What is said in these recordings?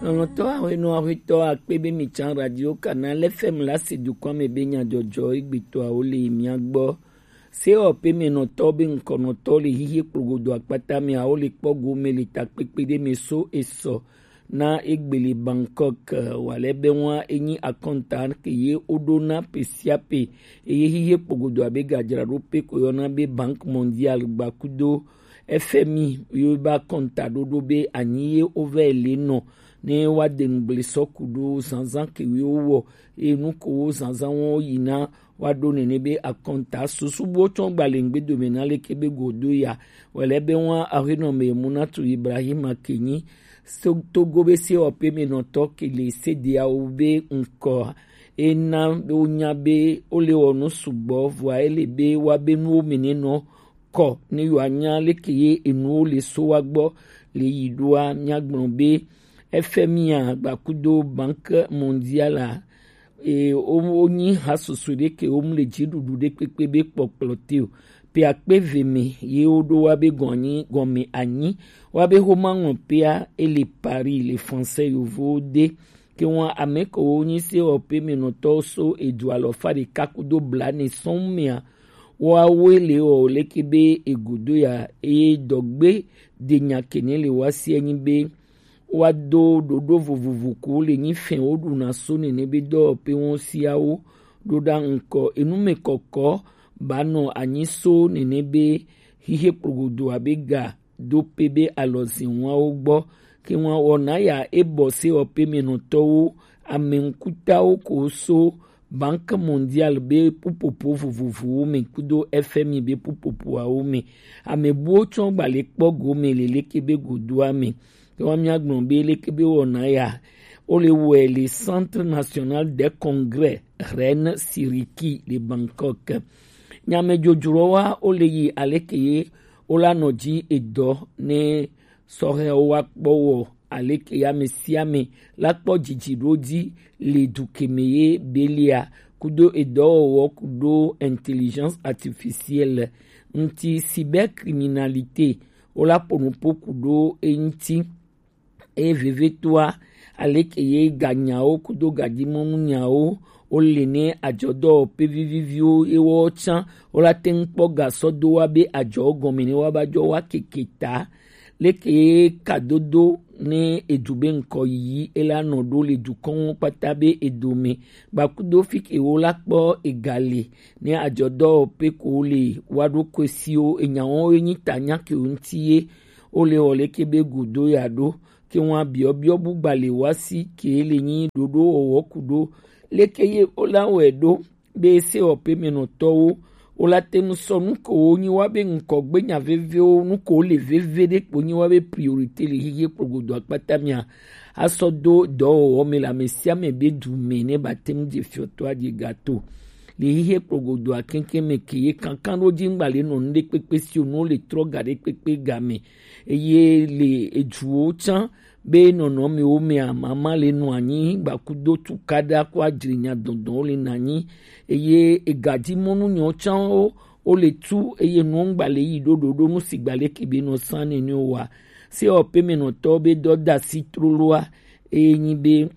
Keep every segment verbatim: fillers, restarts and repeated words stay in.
Lɔlɔ̃tɔ ahuenɔ ahuetɔ akpe be mi can Radio Canal F M la si dukɔa me be nyadzɔdzɔ egbetɔawo le mia gbɔ. Se ɔ pe me nɔtɔ be ŋkɔnɔtɔ le hihe kplogodo akpata me awo le kpɔ gome le takpekpe ɖe me so esɔ na egbele Bangkok, eh, wale be wa enyi akɔnta ke ye woɖo na pe sia pe, eye hihe kplogodo abe gadzraɖo pe ko yɔna be Banque Mondiale gbakudo F M I yo ba kɔnta ɖoɖo be anyi ye wova le nɔ ne wa de ŋgble sɔ ku ɖo zanzan ke wo wɔ, eye nu ko wo zanzan wo yi na wa ɖo nene be akɔnta susu bo tsɔ gbalẽ ŋgbe dome na leke be godo ya. Wale be wa ahuenɔ me Munatu Ibrahima ke nyi So-, Togo be se ɔ pe me nɔtɔ ke le se de awo be ŋkɔ. Ena be wonya be wole wɔ nu sugbɔ, vɔa ele be wa be nuwo me ne nɔ kɔ ne yewoanya leke ye enuwo le so wa gbɔ le yi ɖoa, míagblɔ be F M I a gbakudo Banque Mondiale a, e, wo, wonyi ha susu ɖe ke wo mu le dziɖuɖu ɖe kpekpe be kpɔkplɔ te o. Pe akpe ve me ye woɖo wa be gɔnyi gɔme anyi wa be homa ŋlɔ pea ele Paris le français yovo de. Ke ŋua ame ko wo nyi se ɔ pe me nɔtɔ so edu alɔfa ɖeka kudo blane sɔn mea, wa wo le ɔ leke be egodo ya, eye dɔgbe de nya kene le wa si enyi be wa do ɖoɖo vovovo ko le nyi fɛn wo ɖuna so nene be dɔwɔƒe wo siawo ɖo ɖa ŋkɔ enu me kɔkɔ ba nɔ anyi so nene be hihe kplogodo abe ga do pe be alɔzinwawo gbɔ. Ke ŋua wɔna ya ebɔ se ɔ pe me nɔtɔwo ame ŋkutawo ko so Banque Mondiale be ƒuƒoƒo vovovowo me kudo F M I be ƒuƒoƒoawo me. Ame buwo tsɔ gbalẽ kpɔ gome le leke be godoa me. Ke wa míagblɔ be leke be wɔna ya, wole wɔe le Centre National des Congrès Reine Siriki le Bangkok. Nyamedzodzroa wole yi aleke ye wola nɔ dzi edɔ ne sɔhɛwo wa kpɔ wɔ aleke ya ame sia ame la kpɔ dzidziɖo dzi le dukeme ye belia kudo edɔwɔwɔ kudo intelligence artificielle ŋuti, cybercriminalité, wola ƒo nuƒo kudo eŋuti. Eye vevitɔa, aleke ye ganyawo kudo gadimɔnunyawo wole ne adzɔdɔwɔƒe viviviwo ye woawo tsã wola te ŋu kpɔ gasɔ do wa be adzɔ gɔme ne wa ba dzɔ wa keke ta. Leke ye kadodo ne edu be ŋkɔ yiyi ela nɔ ɖo le dukɔnwo kpata be edome gbakudo fi ke wo la kpɔ egali ne adzɔdɔwɔƒe ko le wa ɖo koesiwo enyawo ye nyi ta nya ke wo ŋuti ye wole wɔ leke be godo ya ɖo. Ke ŋua biɔbiɔ bu gbalẽ wa si ke le nyi ɖoɖo wɔwɔ ku ɖo leke ye wola wɔe ɖo be se ɔ pe me nɔtɔwo wola te ŋu sɔ nu ko wo nyi wa be ŋkɔgbe nya vevewo nu ko le veve ɖe kpo nyi wa be priorité le hihe kplogodo akpata mia asɔ do dɔwɔwɔ me le ame sia ame be du me ne ba te ŋu dze fiɔtɔa dze gato le hihe kplogodo akenken me ke ye kankan ɖo dzi ŋgba le nɔ nu ɖe kpekpe si o nu le trɔ ga ɖe kpekpe ga me eye le eduwo tsã be nɔnɔmewo mea mama le nɔ anyi gbakudo tukaɖa ko adzri nya dɔdɔwo le na anyi eye egadimɔnu nyɔ tsãwo wo le tu eye nuwo ŋgba le yi ɖo ɖoɖo nu si gba le ke be nɔ san nene wa se ɔ pe me nɔtɔ be dɔ da si troloa eye nyi be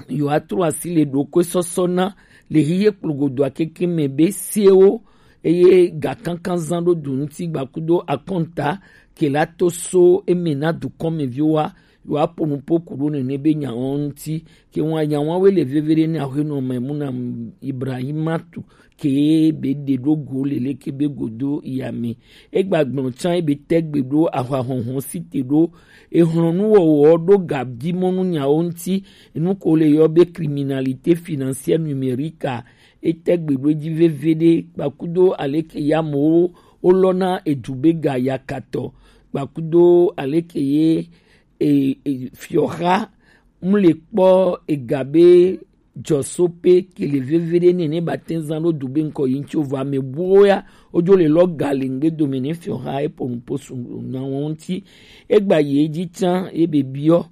yewoatrɔ asi le ɖokoesɔsɔ na le hihe kplogodoa keke me be sewo eye gakankan zan ɖo du ŋuti gbakudo akɔnta ke la to so eme na dukɔmeviwoa yewoaƒo nuƒo ku ɖo nene be nyawo ŋuti ke ŋua nyawoawoe le veve ɖe ne aƒenɔ Maimuna Ibrahimatu ke be ɖe ɖo go le leke be godo yame. Egba gblɔ tsã ebe tɛgbe ɖo ahwahɔhɔ si te ɖo ehlɔnuwɔwɔ ɖo gadimɔnu nyawo ŋuti, enu ko le yɔ be criminalité financière numérique a, etɛgbe ɖo edzi veveɖe, gbakudo aleke ye amewo wolɔna edu be ga yakatɔ, gbakudo aleke ye e, e, fiɔha mu le kpɔ ega be dzɔsope ke le veve ɖe nɛ ne ba te zan ɖo du be ŋkɔ yi ŋuti o vɔ ame buwo ya wodzo le lɔ ga le ŋgbe dome ne fiɔha epo nupo su na wo ŋuti. Egba yi edzi tsã ye be biɔ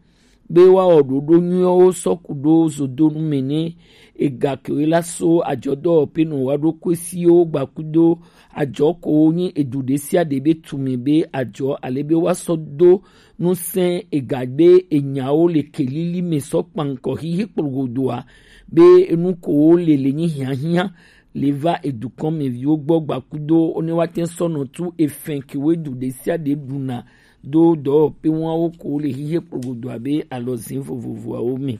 be woawɔ ɖoɖo nyuiwo sɔ ku ɖo zodonu me ne ega kewoe la so adzɔdɔwɔƒe nɔ wa ɖo koesiwo gbakudo adzɔ ko wo nyi edu ɖe sia ɖe be tume be adzɔ ale be woasɔ do nusɛn ega be enyawo le kelili me sɔ kpankɔ hihi kplogodoa, be enu ko wo le le nyi hiahiã le va edukɔn me viwo gbɔ gbakudo one wa tɛ sɔ nɔ tu efɛn ke we du ɖe sia ɖe ɖuna do dɔwɔpe wawo ko wo le hihi kplogodoa be alɔzin vovovoawo me.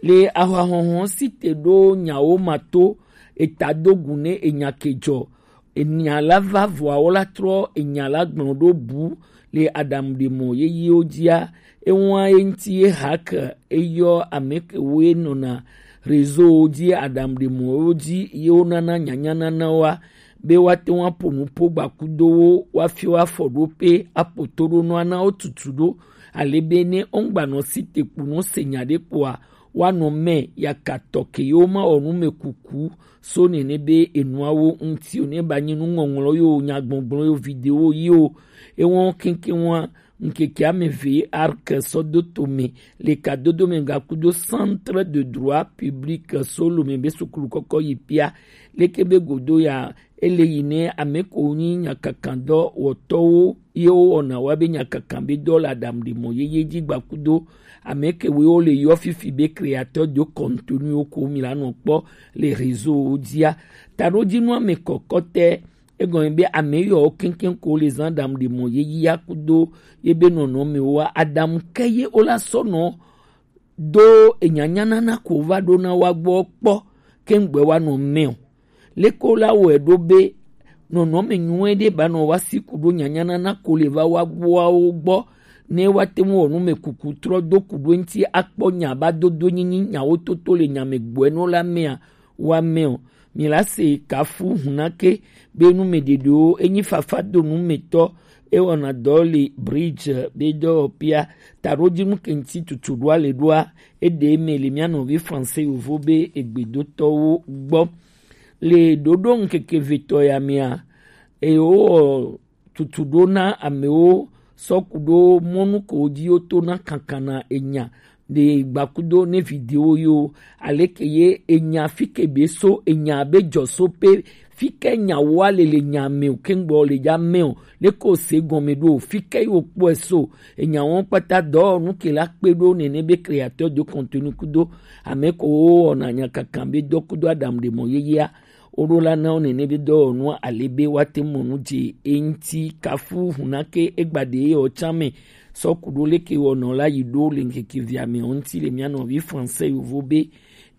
Le ahwahɔhɔ si te ɖo nyawo ma to eta do gu ne enya ke jɔ, enya la va vɔawo la trɔ enya la gblɔ ɖo bu le aɖaŋuɖemɔ yeyewo dzia. Ewa ye ŋuti ye hak eyɔ ame kewoe nɔna rezowo dzi aɖaŋuɖemɔwo dzi ye wonana nyanyananawoa be woate ŋu aƒo nuƒo gbakudowo woafia wo afɔɖoƒe aƒo toɖonuwo ana wo tutu ɖo. Ale be ne wogbanɔ si te kpo nɔ se nya ɖe kpoa, woanɔ mɛ yakatɔ ke yewo ma wɔ nu me kuku so nene be enuawo ŋuti o ne ba nyi nuŋɔŋlɔ yo nyagbɔgblɔ yo video yi o. Ewɔn keŋkeŋ wa ŋkeke ame eve arc sɔ do to me le kadodo me gakudo centre de droit public so lo me be sukulu kɔkɔ yi pia leke be godo ya ele yi ne ame ko nyi nyakakandɔ wɔtɔwo ye wo wɔna wa be nyakakan be dɔ le aɖaŋuɖemɔ yeye dzi gbakudo ame kewoe wo le yɔ fifi be créateur de contenu ko mi la nɔ kpɔ le réseau wo dzia. Taɖodzinu ame kɔkɔtɛ egɔme be ame yɔ keŋkeŋ ko le zan aɖaŋuɖemɔ yeye ya kudo ye be nɔnɔme wa aɖaŋu ke ye wo la sɔ nɔ do enyanyanana ko va ɖo na wa gbɔ kpɔ keŋgbɛ wa nɔ mɛ o. Leke wo la wɔe ɖo be nɔnɔme nyuie ɖe ba nɔ wa si ku ɖo nyanyanana ko le va wa gbɔawo gbɔ ne wa te ŋu wɔ nu me kuku trɔ do ku ɖo ŋuti akpɔ nya ba dodo nyinyi nyawo toto le nya me gbɔe nɔ la mea wa mɛ o. Mi la se kafu hunake be nu me ɖeɖewo enyi fafa do nu me tɔ ewɔna dɔ le bridge be dɔwɔpia taɖodzinu ke ŋuti tutu ɖoa le ɖoa eɖe me le mia nɔvi français yovo be egbedotɔwo gbɔ le ɖoɖo ŋkeke vetɔ ya mea eye wowɔ tutu ɖo na amewo sɔ ku ɖo mɔnu ko dzi woto na kankana enya ɖe gbakudo ne video yo aleke ye enya fike be so enya be jɔ so pe fike nya wa le le nya me o kengbe o le ya me o leke o se gɔme ɖo o fike yo kpɔe so enya wɔn kpata dɔwɔnu ke la kpe ɖo nene be créateur de contenu kudo ame ko wo wɔna nya kankan be dɔ kudo aɖaŋuɖemɔ yeyea wo ɖo la na wo nene be dɔwɔnua ale be woate ŋu mɔ nu dze eŋuti kafu hunake egbaɖe ye ɔtsa me sɔ ku ɖo leke wɔnɔ la yi ɖo le ŋkeke via me ŋuti le mia nɔvi français yovo be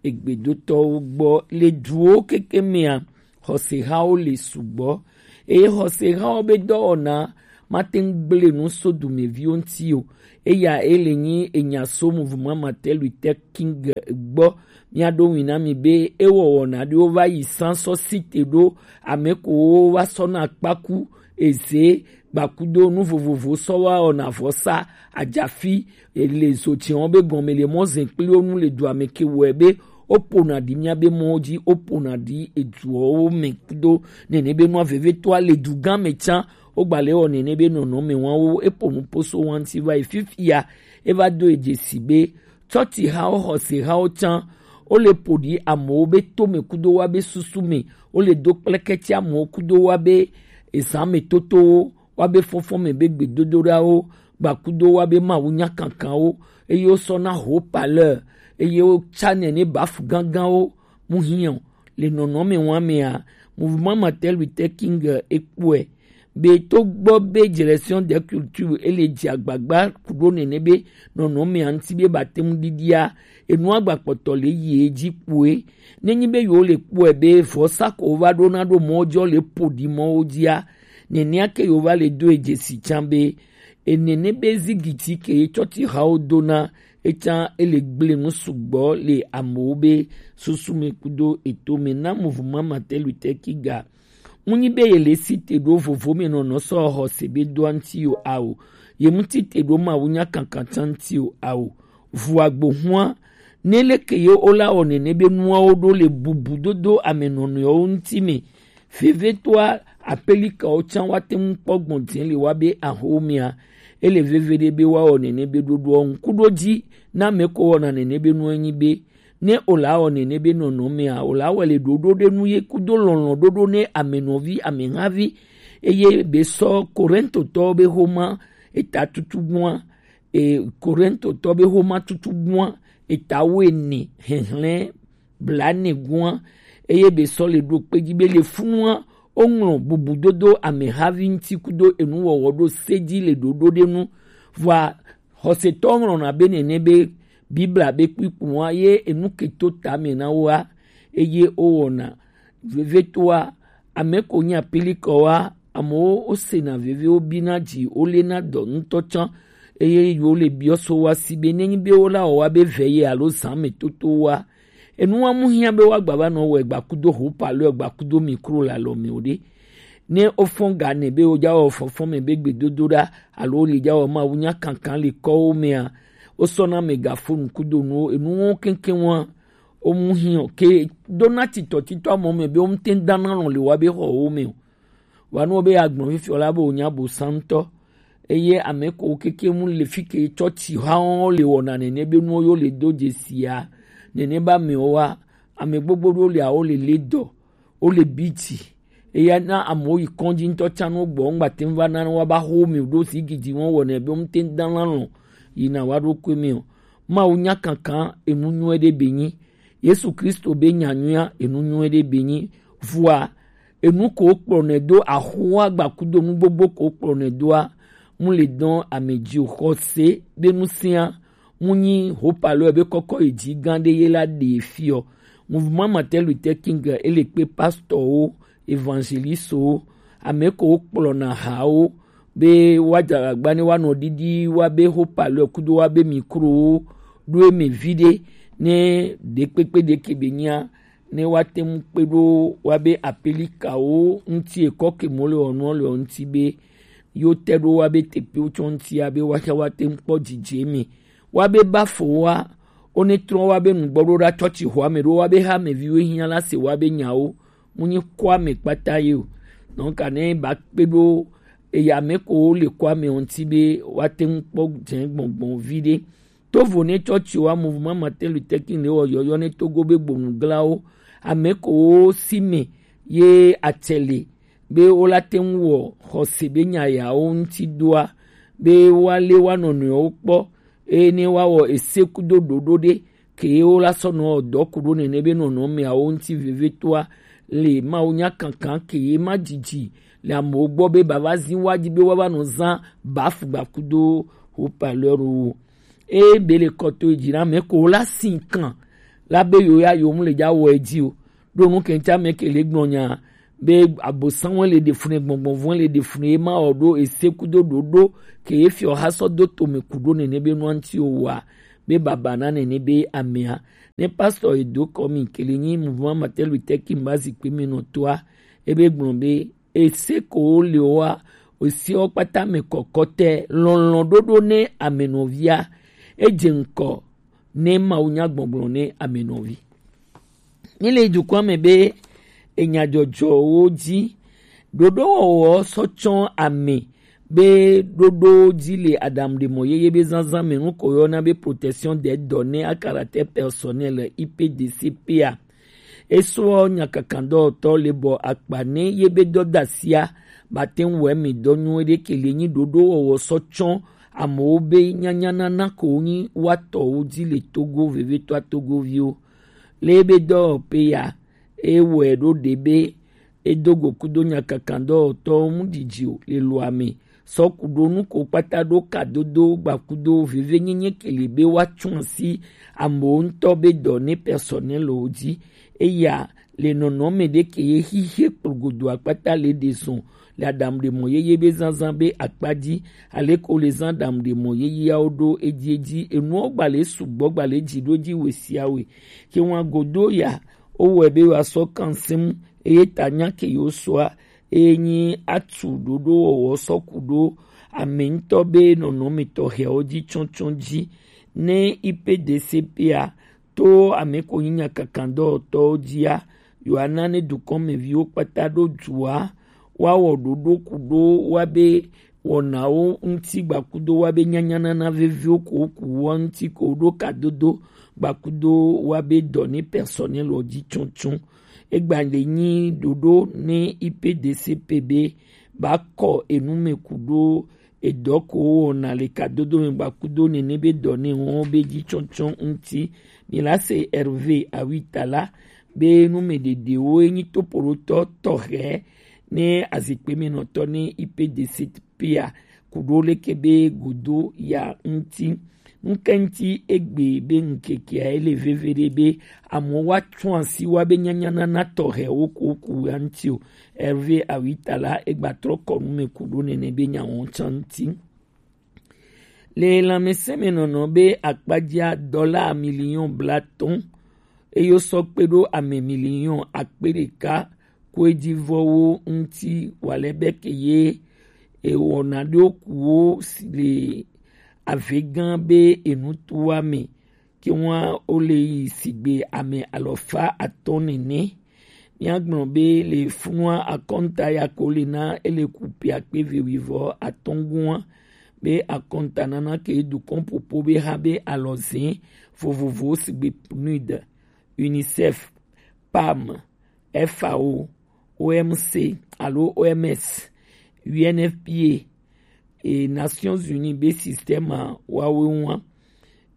egbedotɔwo gbɔ le duwo keke mea xɔsehawo le sugbɔ eye xɔsehawo be dɔwɔna mate ŋu gblẽ nu so dumeviwo ŋuti o. Eya ele nyi enya so mouvement Martin Luther King gbɔ. Mia ɖo ŋui na mi be ewɔ wɔna ɖewo va yi san sɔ site ɖo ame kowo va sɔ na kpaku eze gbakudo nu vovovo sɔ wa wɔna vɔsa ajafi le zotsiawo be gɔme le mɔ zɛn kpli wo nu le dua me ke wɔe be wo pona ɖi mia be mɔwo dzi wo pona ɖi eduɔwo me kudo nene be nua vevetoa le du gã me tsã wo gba le wɔ nene be nɔnɔme wawo epo nu poso wa ŋuti va yi fifia eva do edze si be tsɔtsi hawo xɔse hawo tsã wo le po ɖi amewo be to me kudo wa be susu me wo le do kpleketsi amewo kudo wa be ezã me totowo wa be fɔfɔ me be gbedodoɖawo gbakudo wa be mawu nya kankanwo eye wo sɔ na ho paleur eye wo tsa nɛ ne bafu gãgãwo mu hiã o. Le nɔnɔme wa mea mouvement Martin Luther King ekpɔe be to gbɔ be direction des cultures ele dzi agbagba ku ɖo nene be nɔnɔmea ŋuti be ba te ŋu ɖiɖia enua gba kpɔtɔ le yi edzi kpoe nenyi be yewo le kpɔe be vɔsa ko va ɖo na ɖo mɔ dzɔ le po ɖi mɔwo dzia nenea ke yewo va le do edze si tsã be enene be zigiti ke ye tsɔtsi hawo dona etsã ele gblẽ nu sugbɔ le amewo be susu me kudo eto me na mouvement Martin Luther King ga ŋunyi be ye le si te ɖo vovo me nɔnɔ sɔ xɔse be do aŋuti yo ao ye ŋuti te ɖo mawu nya kankan tsa ŋuti o ao vu agbo hua ne leke ye wo la wɔ nene be nuawo ɖo le bubu dodo ame nɔnɔewo ŋuti me vevetoa apelikawo tsã wa te ŋu kpɔ gbɔn dze le wa be ahomea ele veve ɖe be wa wɔ nene be ɖoɖoa ŋku ɖo dzi na ame ko wɔna nene be nua nyi be ne o la wɔ nene be nɔnɔmea o la wɔ le ɖoɖo ɖe nu ye kudo lɔlɔ̃ ɖoɖo ne ame nɔvi ame havi eye be sɔ korintotɔwo be homa eta tutugbua, e, Korintotɔ be xoma tutugbua, eta wuiene, hɛhlɛn blaene gua, eye be sɔ le ɖo kpe ji be le funua, woŋlɔ bubudodo amehavi ŋuti kudo enuwɔwɔ ɖo se ji le ɖoɖo ɖe nu. Vɔa xɔsetɔ ŋlɔna be nene be Biblia be kpikpua ye enu ke to tame na woa, eye wowɔna vevetoa, ame ko nyi apilikɔwoa, amewo wosena veve, wobina dzi, wolena dɔ ŋutɔ tsã, eye wole biɔ so woa si be nenyi be wola wɔ woa be vɛ ye alo zã me toto woa, enua mu hiã be woagba va nɔ wɔe gbakudo ho palo gbakudo mikro le alɔ me o ɖe. Ne wofɔn ga nɛ be woja wɔ fɔfɔ me be gbedodoɖa alo wole ja wɔ Mawu nya kankan le kɔwo mea, wosɔna megafonu kudo nuwo, enuwo keŋkeŋ wa, womu hiã o. Ke dona titɔtitɔ amɔ me be womte dana lɔn le wa be xɔwo me o. Wa nuwo be agblɔ fifiɔ la be wonya bo santɔ. Eye ame ko keke mu le fi ke tsɔtsi hawo le wɔna nene be nuwo yo le do dzesia. Nene ba me wa, ame gbogbo ɖo le awo le le dɔ, wole bi dzi. Eya na amewo yi kɔdzi ŋutɔ tsã no gbɔ ŋgba te ŋu va na wa ba xo mi ɖo si gidi wɔn wɔnɛ be ŋute ŋu dana lɔ yina wa ɖo koe mi o. Mawu nya kankan enu nyuie ɖe be nyi. Yesu Kristo be nya nyuia enu nyuie ɖe be nyi. Vua enu ko kplɔ nɛ do axoa gbakudo nu gbogbo ko kplɔ nɛ doa, mu le dɔn ame dzi o. Xɔse be nu sia mu nyi hopalɔ be kɔkɔ yi dzi gã ɖe ye la ɖe fiɔ. Mouvement Martin Luther King ele kpe pastorwo, evangelistwo, ame ko kplɔna hawo be woadze agbagba ne woanɔ ɖiɖi woabe hopalɔ kudo woabe mikrowo ɖo eme viɖe ne ɖekpekpe ɖeke be nyia ne woate ŋu kpe ɖo woabe apelikawo ŋuti ekɔ ke mo le wɔnuɔ le ŋuti be yewo te ɖo woabe teƒewo tsɔ ŋutia be woaxe woate ŋu kpɔ dzidze me. Woabe bafowoa, wone trɔ woabe nugbɔɖoɖa tsɔtsi xɔa me ɖo woabe hameviwo hiã la se woabe nyawo. Mu nyi kɔa me kpata ye o. Donc ne ba kpe ɖo eya me ko le kɔa me ŋuti be woate ŋu kpɔ dze gbɔngbɔn viɖe. Tovo ne tsɔtsi wa Mouvement Martin Luther King le wɔ yɔyɔ ne Togo be gbonuglawo, ame ko wo si me ye atsɛli be wola te ŋu wɔ xɔse be nya yawo ŋuti doa, be woale woa nɔnɔewo kpɔ, eye ne woawɔ ese kudo ɖoɖo ɖe ke wola sɔ nɔ dɔ ku ɖo nene be nɔnɔmeawo ŋuti vevetoa le Mawu nya kankan ke ye ma dzidzi le amewo gbɔ be bava zi woa dzi be woava nɔ zã bafugba kudo hopaleur wo. Eye be le kɔto yi dzi na ame ko la sin kan la be yo ya yo mu le dza wɔ edzi o. Ɖo nu kɛntsa me ke le gblɔ nya be abosanwo le ɖe fune, gbɔngbɔnvɔn le ɖe fune, ye ma wɔ ɖo ese kudo ɖoɖo ke ye fiɔ ha sɔ do tome ku ɖo nene be nua ŋuti o wa be baba na nene be amea. Ne pastor edo kɔ mi ke le nyi Mouvement Martin Luther King ba zikpui mi nɔ toa, ebe gblɔ be ese ko wo le wa, ese wo kpata me kɔkɔtɛ lɔlɔ̃ ɖoɖo ne amenɔvia, edze ŋkɔ ne Mawu nya gbɔgblɔ ne amenɔvi. Mi le dukɔa me be enyadzɔdzɔwo dzi ɖoɖowɔwɔ sɔ tsɔ ame be ɖoɖo dzi le aɖaŋuɖemɔ yeye be zazã me nu ko yɔna be protection des données à caractère personnel, I P D C P a. Esɔ nyakakandɔwɔtɔ le bɔ akpa ne ye be dɔdasia ba te ŋu wɔ emi dɔ nyuie ɖe ke le nyi ɖoɖowɔwɔ sɔ tsɔ amewo be nyanyanana ko nyi wa tɔwo dzi le Togo, vevetoa Togoviwo. Le be dɔwɔƒe ya, ewɔe ɖo ɖe be edo go kudo nyakakandɔwɔtɔwo ŋu didi o le loa me. Sɔ ku ɖo nu ko kpata ɖo kadodo gbakudo vevenyenye ke le be woatsu asi amewo ŋutɔ be dɔ ne personnel wo dzi. Eya le nɔnɔme ɖe ke ye xixe kplogodo akpata le ɖe zɔn le aɖaŋuɖemɔ yeye be zazã be akpa dzi, ale ko le zã aɖaŋuɖemɔ yeyeawo ɖo edzi edzi. Enuwo gba le sugbɔ gba le dzi ɖo edzi we sia we. Ke ŋua godo ya, wowɔe be woasɔ kan sim eye ta nya ke yewo sɔa eye nyi atu ɖoɖowɔwɔ sɔ ku ɖo ame ŋutɔ be nɔnɔme tɔxɛawo dzi tsɔtsɔ dzi. Ne I P D C P a to ame ko nyi nyakakandɔwɔtɔwo dzia, yewoana ne dukɔmeviwo kpata ɖo dua woawɔ ɖoɖo ku ɖo woabe wɔnawo ŋuti gbakudo woabe nyanyanana veviwo ko woku woa ŋuti ko ɖo kadodo gbakudo woabe dɔ ne personnel wo dzi tsɔtsɔ. Egba le nyi ɖoɖo ne I P D C P be ba kɔ enu me ku ɖo edɔ ko wɔna le kadodo me gbakudo nene be dɔ ne wɔn be ji tsɔtsɔ ŋuti. Milase Hervé Awitala be numedede wo enyi topoɖotɔ tɔxɛ ne azikpe me nɔtɔ ne I P D C P a kuɖo leke be godo ya ŋuti. Ŋkɛŋti egbe be ŋkekea ele veve ɖe be amewo wa tso asi wa be nyanya nana tɔxɛ wo ko ku ya ŋuti o. Hervé Awitala egba trɔ kɔ nu me kuɖo nene be nyawo tsa ŋuti. Le lãmesẽmenɔnɔ be akpadzia dɔla miliɔn blatɔ̃ eye wosɔ kpe ɖo ame miliɔn akpe ɖeka koedivɔwo ŋuti wale be ke ye ewɔna ɖo kuwo le avegã be enutua me ke wa wole yi sigbe ame alɔfa atɔ̃ nene. Míagblɔ be le funua akɔnta ya ko le na ele ku piakpe vewivɔ atɔ̃ gua be akɔnta nana ke dukɔn popo be ha be alɔzẽ vovovowo sigbe PNUD, UNICEF, PAM, FAO, OMC alo OMS, UNFPA, e Nations Unies be système a wawe ŋua.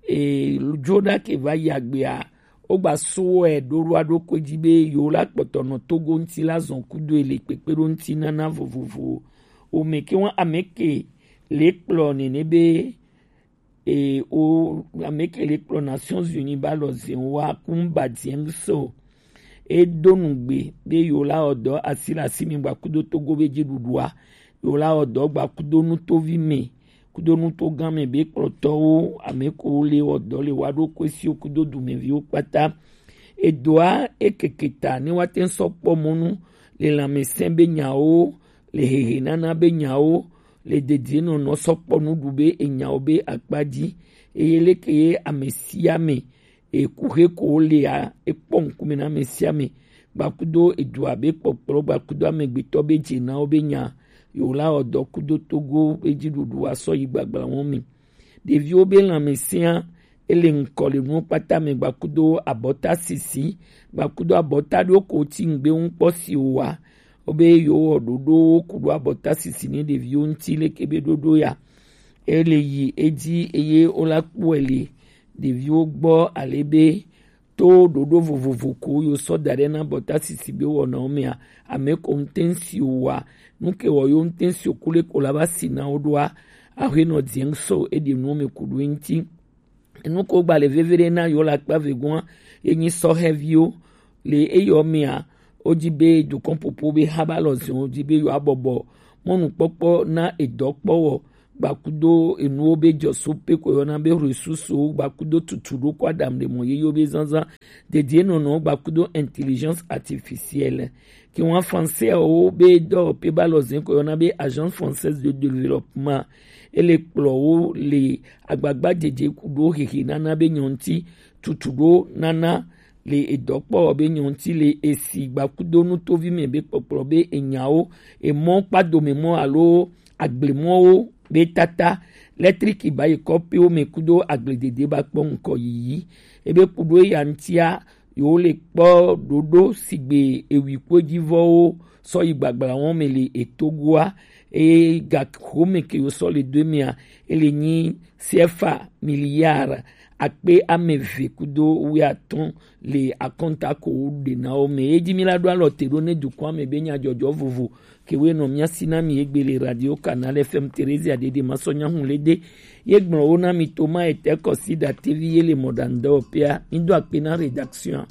E jo ɖa ke va yi agbea, wogba so wɛ ɖo ɖoa ɖo ko dzi be yewo la kpɔtɔ nɔ Togo ŋuti la zɔn kudo ele kpekpe ɖo ŋuti nana vovovo. O me ke wa ame ke le kplɔ nene be e o ame ke le kplɔ Nations Unies ba lɔ zen wa kun ba diɛŋ so. Edo nugbe be yewo la wɔ dɔ asi le asi mi gba kudo Togo be ji ɖuɖua. Yewo la wɔ dɔ gba kudo nutovi me kudo nutogã me be kplɔtɔwo ame ko le wɔ dɔ le wa ɖo ko esiwo kudo dumeviwo kpata. Edoa ekeke ta ne wa te sɔ kpɔ mɔnu le lãmesẽ be nyawo, le hehe nana be nyawo, le dedienɔnɔ sɔ kpɔ nuɖu be enyawo be akpa dzi. Eye leke ye ame sia ame ekuxe ko lea ekpɔ ŋkume na ame sia ame gbakudo edua be kpɔkplɔ gbakudo amegbetɔ be dzenawo be nya yewo la wɔ dɔ kudo Togo be dziɖuɖu asɔ yi gbagbla wɔn me. Ɖeviwo be lãmesẽa ele ŋkɔ le nuwo kpata me gbakudo abɔta sisi gbakudo abɔta ɖewo ko ti ŋgbe ŋu kpɔ si o wa. Wobe yewo wɔ ɖoɖowo ku ɖo abɔta sisi ne ɖeviwo ŋuti leke be ɖoɖo ya. Ele yi edzi eye wola kpɔe le ɖeviwo gbɔ ale be to ɖoɖo vovovo ko yo sɔ da ɖe na abɔta sisi be wɔnawo mea, ame ko ŋutɛ ŋsi o wa. Nu ke wɔ yo ŋutɛ ŋsi o ku le ko la va si na wo ɖoa, aƒenɔ diɛŋ sɔ eɖe nuwo me ku ɖo eŋuti. Enu ko gba le veve ɖe na yewo le akpa evegɔa ye nyi sɔhɛviwo. Le eyɔ mea, wodi be dukɔn popo be haba lɔ zɛn wodi be yewo abɔbɔ mɔnukpɔkpɔ na edɔkpɔwɔ gbakudo enuwo be jɔso pe ko yɔna be ressources gbakudo tutu ɖo ko adam ɖe mɔ yeyewo be zanzan dedienɔnɔ gbakudo intelligence artificielle. Ke wan français wo be dɔ pe ba lɔ zɛn ko yɔna be Agence Française de Développement. Ele kplɔ wo le agbagba dzedze ku ɖo hehe nana be nyɔnti tutu ɖo nana le edɔkpɔ be nyɔnti le esi gbakudo nutovi me be kpɔkplɔ be enyawo emɔ kpadome mɔ alo agblemɔwo be tata lɛtriki ba yi kɔpiwo me kudo agbledede ba kpɔ ŋkɔ yiyi. Ebe kudo eya ŋtia yewo le kpɔ ɖoɖo sigbe ewi kpodivɔwo sɔ yi gbagbla wɔn me le etogoa. Eye gaxome ke yo sɔ le do emea ele nyi sefa miliar akpe ame eve kudo wuiatɔ̃ le akɔnta ko wo ɖe na wo me. Ye dzi mi la ɖo alɔ te ɖo ne dukɔa me be nyadzɔdzɔ vovo ke wo nɔ mia si na mi egbe le Radio Canal F M Theresia Dede Masɔ Nyahun le de. Ye gblɔ wo na mi to ma ete kɔsi da T V ye le mɔɖaŋudɔwɔƒea. Mi do akpe na rédaction.